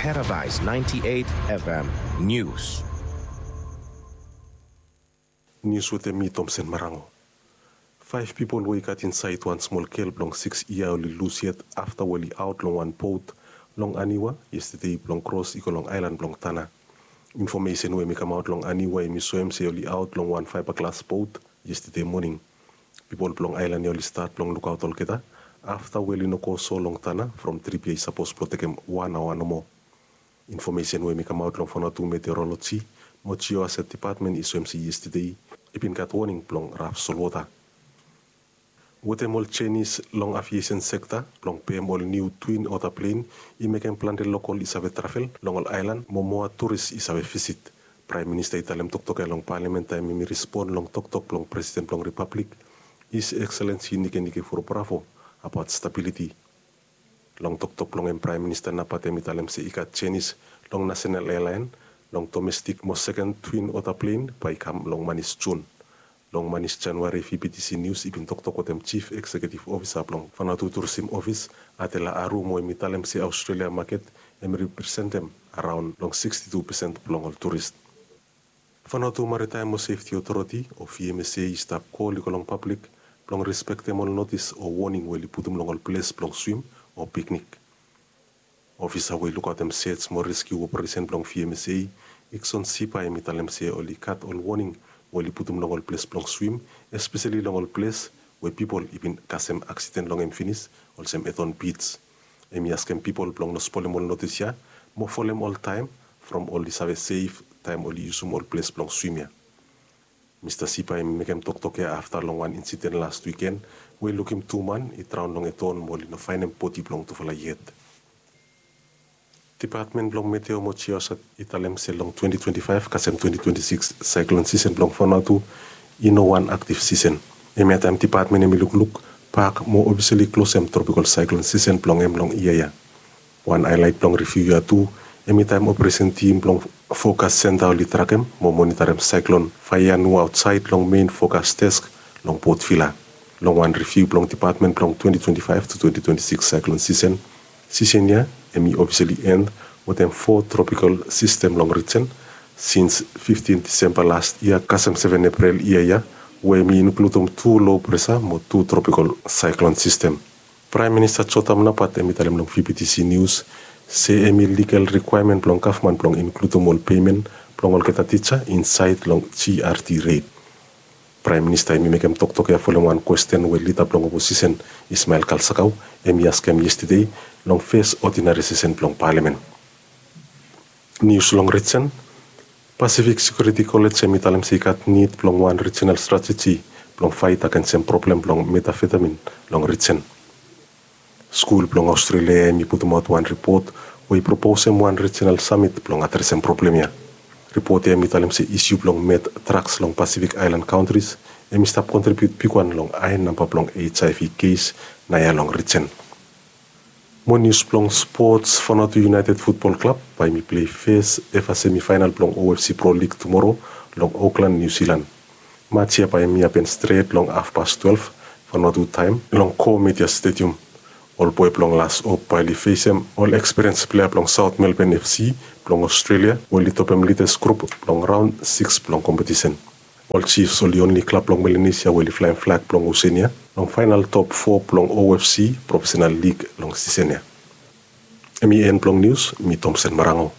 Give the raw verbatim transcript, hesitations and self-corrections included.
Paradise ninety-eight F M News. Nius wetem mi, Tomsen Marango. Faef pipol we i gat insaed wan smol gel blong sikis yia oli lus yet afta we oli aot long wan bot long Aniwa yestede blong kros i go long aelan blong Tanna. Infomesen we mi kamaot long Aniwa i mi soem se oli aot long wan faeba glas bot yestede moning. Pipol blong aelan ya oli stat blong lukaot olgeta afta we oli no go so long Tanna from trip ya i sapos blong tekem wan aoa nomo. Infomesen we mi kamaot long Vanuatu Meteorology mo Geohazard Department i soem se yestede i bin gat woning blong raf solwota. Wetem ol jenis long aviesen sekta blong pem ol niu Twin Otter plen i mekem plante lokol i save travel long ol aelan mo moa turis i save visit. Praem Minista i talem toktok ya long Palamen taem hem i respon long toktok blong Presiden blong Ripablik, His Excellency Nikenike Vurobravho, abaot stabiliti. Long toktok blong hem, Praem Minista nao bae hem i talem se i gat jenis long nasenal ealaen long domestik mo seken Twin Otter plen bae i kam long manis Jun. Long manis Januari, V B T C Nius i bin toktok wetem Jif Ekseketif Ofisa blong Vanuatu Turisim Ofis, Adela Aru, mo hem i talem se Aostrelia maket hem i representem araon long sikstitu pesen blong ol turis. Vanuatu Maritaem mo Sefti Otoriti o V M S A i stap kol i go long pablik blong respektem ol notis o woning we oli putum long ol ples blong swim o piknik. Ofisa we i lukaotem sej mo reskiu operesen blong V M S A, Ikson Sipa, hem i talem se oli gat ol woning we oli putum long ol ples blong swim, espeseli long ol ples we pipol i bin kasem aksiden long hem finis, olsem Eton Beach. Hem i askem pipol blong no spolem ol notis ya mo folem oltaem from oli save sef taem oli yusum ol ples blong swim ya. Mista Sipa hem i mekem toktok ya afta long wan insiden las wiken we i lukim tu man i draon long Eton mo oli no faenem bodi blong tufala yet. Dipatmen blong Meteo mo Geohazard i talem se long twenti twenti faef kasem twenti twenti sikis saeklon sisen blong Vanuatu i no wan aktiv sisen. Hemia taem dipatmen hem i lukluk bak mo ofisali klosem tropikol saeklon sisen blong hem long yia ya. Wan haelaet blong riviu ya tu hem i taem operesen tim blong Fokas Senta oli trakem mo monitarem saeklon Faianu aotsaed long mein Fokas Desk long Port Vila. Long wan riviu blong dipatmen blong twenti twenti faef tu twenti twenti sikis saeklon sisen, sisen ya hem i ofisali end wetem fo tropikol sistem long rijen sins fiftin Disemba las yia kasem seven Eprel yia ya, we hem i inkludum tu lo presa mo tu tropikol saeklon sistem. Praem Minista Jotam Napat hem i talem long V B T C Nius se hem i ligal rikwaemen blong gavman blong inkludum ol pemen blong olgeta tija insaed long G R T ret. Praem Minista hem i mekem toktok ya folem wan kwesten we lida blong oposisen Ismael Kalsakau hem i askem yestede long fes odinari sesen blong Palamen. Nius long rijen. Pasifik Sekiuriti Kolej hem i talem se i gat nid blong wan rijinal strateji blong faet agensem problem blong metafetamin long rijen. Skul blong Aostrelia hem i putumaot wan ripot we i proposem wan rijinal samit blong adresem problem ya. Ripot ya hem i talem se isiu blong met draks long Pasifik aelan kantris hem i stap kontribiut bigwan long hae namba blong H I V kes naoia long rijen. Mo nius blong spots. Vanuatu United Football Club bae hem i plei fes F A semifaenal blong O F C Pro Lig tumoro long Auckland, Niu Silan. Maj ya bae hem i hapen stret long hafpas twelef Vanuatu taem long Go Media Stadium. Ol boe blong Las Hope bae oli fesem ol ekspiriens plea blong South Melbourne F C blong Aostrelia we oli topem lides grup blong raon sikis blong kompetisen. Ol Chiefs oli onli klab blong Melanesia we oli flaem flag blong Oseania long faenal top fo blong O F C profesenal lig long sisen ya. Hem i en blong nius. Mi Tomsen Marango.